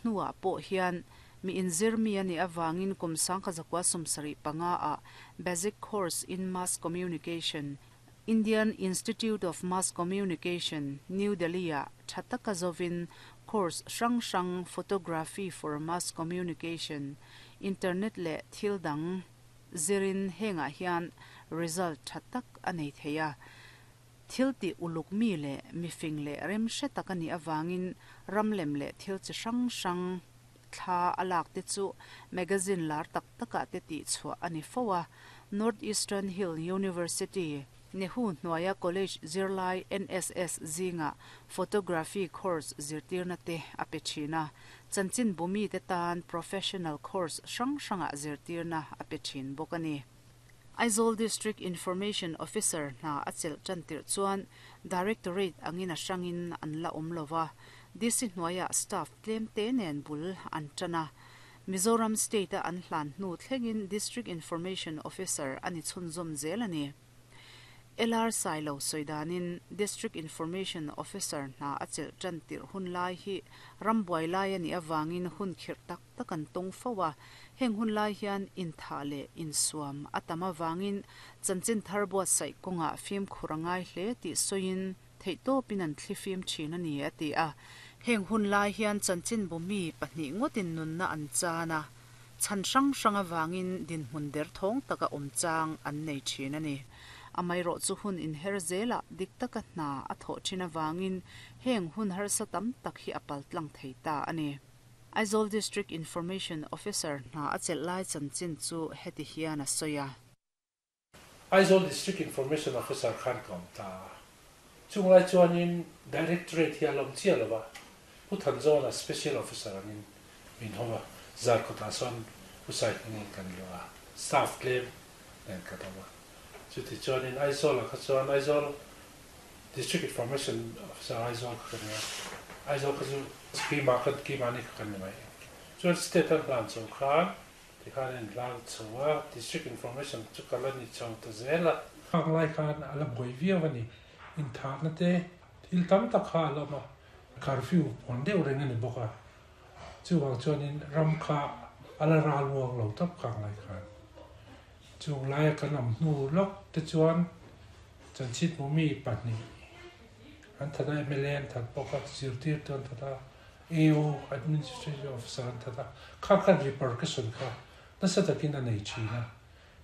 hnuah pawh hian mi inzir mi a nih avangin kum 1975 ah Basic Course in Mass Communication, Indian Institute of Mass Communication, New Delhi-ah tha taka zovin course hrang hrang Photography for Mass Communication, Internet leh thil dang zirin hengah hian result tha tak a nei thei a. Thil tih uluk mi leh mifing leh rem hre tak a nih avangin ram lem leh thil chi hrang hrang thla a lak te chu magazine lar tak takah te tih chhuah a ni fo a. North Eastern Hill University, Nehu hnuaia college zirlai NSS zingah photography course zirtirna te a pe thin a. Chanchinbu mite tan professional course hrang hrangah zirtirna a pe thin bawk a ni. Aizawl District Information Officer hna a chelh tan tirh chuan Directorate angin a hrangin an la awm lo va, DC hnuaiah staff tlem te nen bul an tan a. Mizoram State-a an hlan hnu thlengin District Information Officer a ni chhunzawm zel a ni. LR Sailo sawi danin District Information Officer hna a chelh tan tirh hun lai hi rambuai lai a nih avangin hun khirh tak tak an tawng fo a, heng hun lai hian inthah leh insuam a tam avangin chanchin thar buatsaih kawngah fimkhur a ngai hle tih sawiin theihtawpin an thlifim thin a ni a ti a. Heng hun lai hian chanchinbu mi pahnih ngawtin nunna an chan a, chhan hrang hrang avangin dinhmun derthawng taka awm chang an nei thin a ni. Amaherawhchu hun inher zelah dik taka hna a thawh thin avangin heng hun harsa tam tak hi a paltlang thei ta a ni. Aizawl District Information Officer hna a chelh lai chanchin chu heti hian a sawi a. Aizawl District Information Officer khan ka awm ta a. Chung lai chuanin Directorate hi a lawm chiah lo va, Pu Thanzawna Special Officer angin min hawm a, Zarkawtah sawn Pu Saihmingin kan luah a, staff tlem nen kan awm a. Chuti chuanin Aizawlah kha chuan Aizawl District Information Officer Aizawl kha ka ni a, Aizawl kha chu keimah kha keimahni kha kan ni mai. Chuan state an hlan chho khan tikhan a inhlan chho a, District Information chu ka la ni chho ta zel a. Khang lai khan a la buai viau a ni, inthahna te thil tam tak kha a la awm a, curfew pawn deuh reng a ni bawk a, chuvang chuanin ram kha a la ral uang lo tawp khang lai khan. Chung laia kan awm hnu lawk te chuan Chanchit Mumi pahnih an that a, mla an that bawk a, zirtirtu an that a, AO, Administrative Officer, an that a, kha khan repercussion kha nasa takin a nei thin a,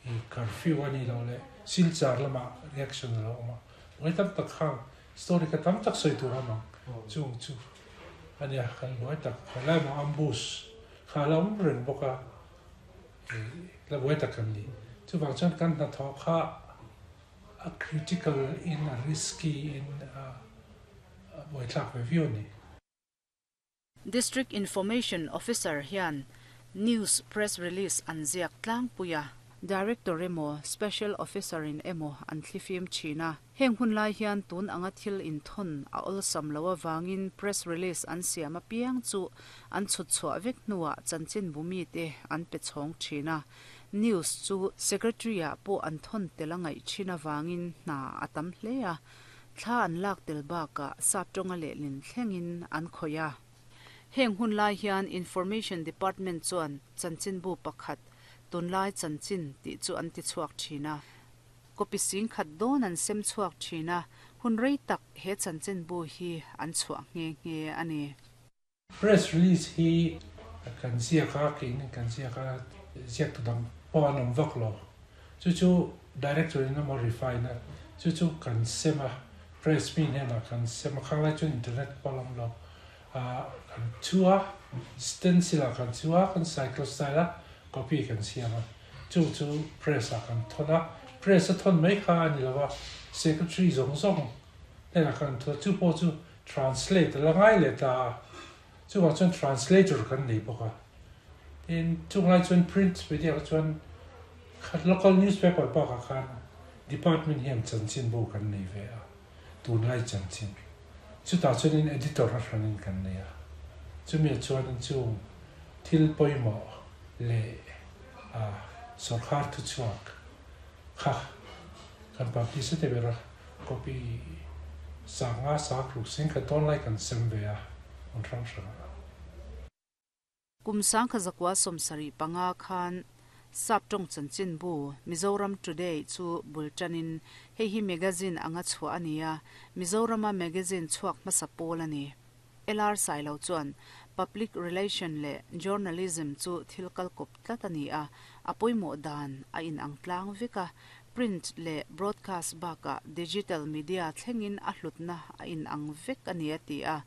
i curfew a nih loh leh Silchar lamah reaction a lo awm a, buai tam tak khang story kha tam tak sawi tur a awm ang, chung chu a nia kan buai tak, helai maw ambush kha a la awm reng bawk a, i la buai tak kan ni, chuvang chuan kan hnathawh kha. A critical in a risky in a buaithlak ve viau a ni. District Information Officer hian news press release an ziak tlangpui a. Director emaw Special Officer in emaw an thlifim thin a. Heng hun lai hian tun anga thil inthawn a awlsam lo avangin press release an siam apiang chu an chhut chhuah vek hnuah chanchinbu mite an pe chhawng thin a. News chu Secretary ah pawh an thawn tel a ngaih thin avangin hna a tam hle a, thla an lak tel bakah sap tawnga lehlin thlengin an khawih a. Heng hun lai hian Information Department chuan chanchinbu pakhat, Tunlai Chanchin tih chu an ti chhuak thin a. Copy sing khat dawn an sem chhuak thin a, hun rei tak he chanchinbu hi an chhuah nghe nghe a ni. Press release hi kan ziak a, keini kan ziak a, ziaktu dang pawh an awm vak lo. Chu chu director in emaw refine a, chu chu kan sem a, press mi hnenah kan sem a, khang lai chuan internet pawh a la awm lo. Ah kan chhu a, stencil ah kan chhu a, kan cycle style a, copy kan siam a, chu chu press ah kan thawn a, press a thawn mai kha a ni lo a, secretary zawng zawng hnenah kan thawn a, chu pawh chu Translate a la ngai leh ta a, chuvang chuan translator kan nei bawk a. Tin, chung lai chuan print media kha chuan kha local newspaper bakah khan department hian chanchinbu kan nei ve a, tunlai chanchin. Chutah chuanin editor a hranin kan nei a, chumi ah chuanin chung thil pawimawh leh a sawrkar thuchhuak kha kan publish a ti ber a. Copy sanga sa tluk sing kha dawn lai kan sem ve a, hmun hrang hrangah. Kum 1975 khan Sap tawng chanchinbu Mizoram Today chu bul tanin hei hi magazine anga chhuah a ni a, Mizorama magazine chhuak hmasa pawl a ni. LR Sailo chuan Public Relation leh Journalism chu thil kal kawp tlat a ni a, a pawimawh dan a inang tlang vek a, print leh broadcast bakah digital media thlengin a hlutna a inang vek a ni a ti a.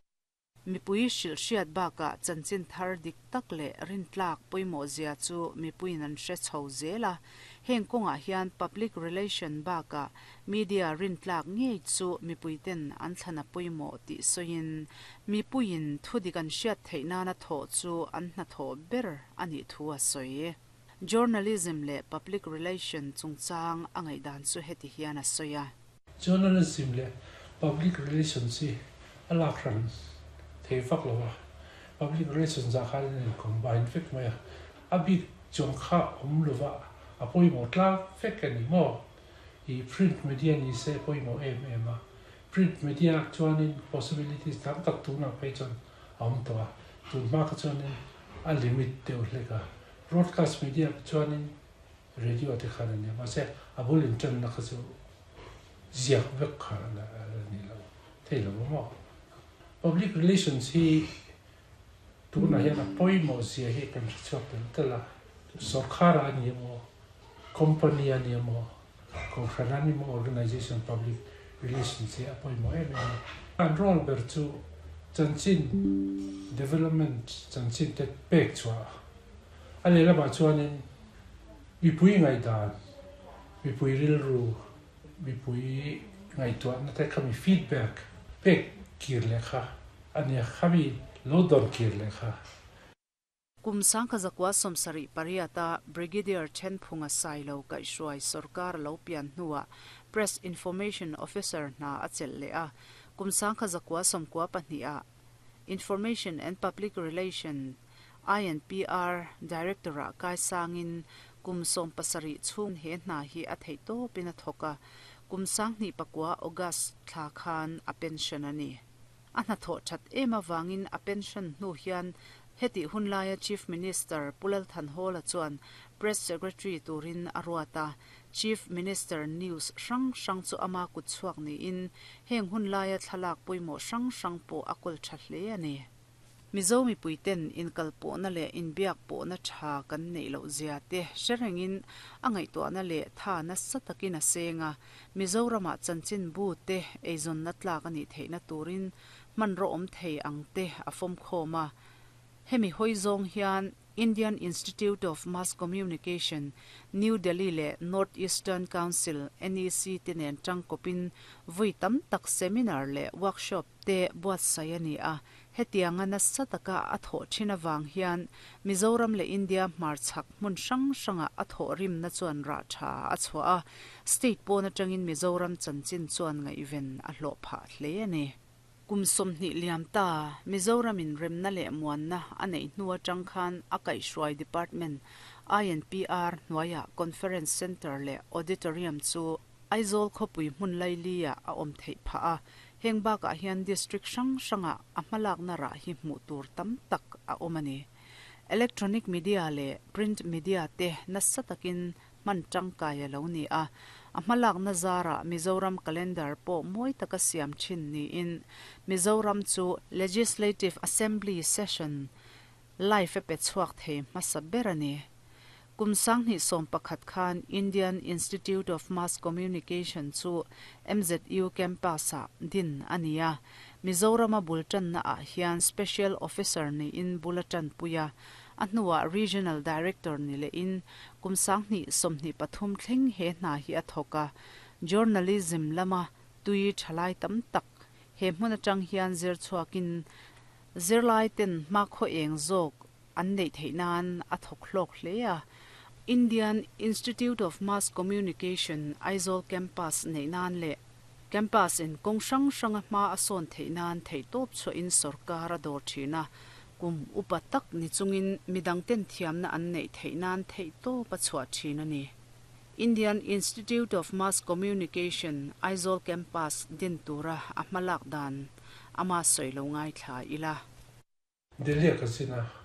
Mipui hrilh hriat bakah chanchin thar dik tak leh rintlak pawimawh zia chu mipuiin an hre chho zel a. Heng kawngah hian public relation bakah media rintlak ngei chu mipuiten an thlan a pawimawh tih sawiin mipuiin thudik an hriat theih nana thawh chu an hnathawh ber a nih thu a sawi. Journalism leh public relation chungchang a ngaihdan chu heti hian a sawi a. Journalism leh Public Relations hi a lak hran thei vak lo a, Public Relations ah khan an in combine vek mai a, a bik chuang kha awm lova a pawimawh tlak vek a ni maw? I print media ni se pawimawh em em a, print media ah chuanin possibilities tam tak tunah phei chuan a awm tawh a, tun hma kha chuanin a limit deuh hlek a, broadcast media ah chuanin Radio te khan a nia, mahse a bul inṭanna kha chu ziak vek kha a ni lo thei lo a maw? Public relations hi tunah hian a pawimawh zia hi kan hre chhuak tel tel a, sawrkhar a ni emaw, company a ni emaw, kohhran a ni emaw organization public relations hi a pawimawh em em a. An role ber chu chanchin development chanchin te pek chhuah a lehlamah chuanin Mipui ngaihdan, mipui rilru, mipui ngaihtuahna te kha mi feedback pek kir leh kha a nia, khami lo dawn kir leh kha. Kum 1978 a Brigadier Thenphunga Sailo kaihhruai sorkar lo pian hnuah Press Information Officer hna a chelh leh a, kum 1992 ah Information and Public Relation, INPR, Director-ah kai sangin kum 17 chhung he hna hi a theih tawpin a thawk a, kum 2009 August thla khan a pension a ni. A hnathawh that em avangin a pension hnu hian hetih hun laia Chief Minister Pu Lal Thanhawla chuan Press Secretary turin a ruat a, Chief Minister news hrang hrang chu ama kut chhuak niin heng hun laia thlalak pawimawh hrang hrang pawh a kawl tha hle a ni. Mizo mipuiten inkalpawhna leh inbiak pawhna tha kan neih loh zia te hre rengin a ngaihtuahna leh tha nasa takin a seng a, Mizoramah chanchinbu te eizawnna tlak a nih theihna turin hmanraw awm thei ang te a fawmkhawm a. Hemi hawi zawng hian Indian Institute of Mass Communication, New Delhi leh North Eastern Council, NEC, te nen tangkawpin vui tam tak seminar leh workshop te buatsaih a ni a. Hetianga nasa taka a thawh thin avang hian Mizoram leh India hmarchhak hmun hrang hrangah a thawhrimna chuan rah tha a chhuah a, state pawn atangin Mizoram chanchin chuan ngaihven a hlawh phah hle a ni. Kum 20 liam ta, Mizoramin remna leh muanna a neih hnu atang khan a kaihhruai department INPR hnuaiah Conference Centre leh Auditorium chu Aizawl khawpui hmun laili-ah a awm theih phah a, heng bakah hian district hrang hrangah a hmalakna rah hi hmuh tur tam tak a awm a ni. Electronic media leh print media te nasa takin hman tangkai a lo ni a, a hmalakna zarah Mizoram calendar pawh mawi taka siam thin niin Mizoram chu Legislative Assembly session live a pe chhuak thei hmasa ber a ni. Kum 2011 khan Indian Institute of Mass Communication chu MZU campus-ah din a ni a, Mizorama bul tanna ah hian Special Officer niin bul a tanpui a, A hnuah Regional Director ni lehin kum 2023 thleng he hna hi a thawk a, Journalism lama tui thalai tam tak he hmun atang hian zir chhuakin zirlai ten hmakhaw eng zawk an neih theih nan a thawk hlawk hle a. Indian Institute of Mass Communication Aizawl Campus neih nan leh Campus in kawng hrang hranga hma a sawn theih nan theihtawp chhuahin sorkar a dawr thin a, Kum upa tak ni chungin midangten thiamna an neih theih nan theihtawp a chhuah thin a ni. Indian Institute of Mass Communication, Aizawl Campus din tura a hmalak dan ama sawi lo ngaithla ila. Delhi a ka zin a.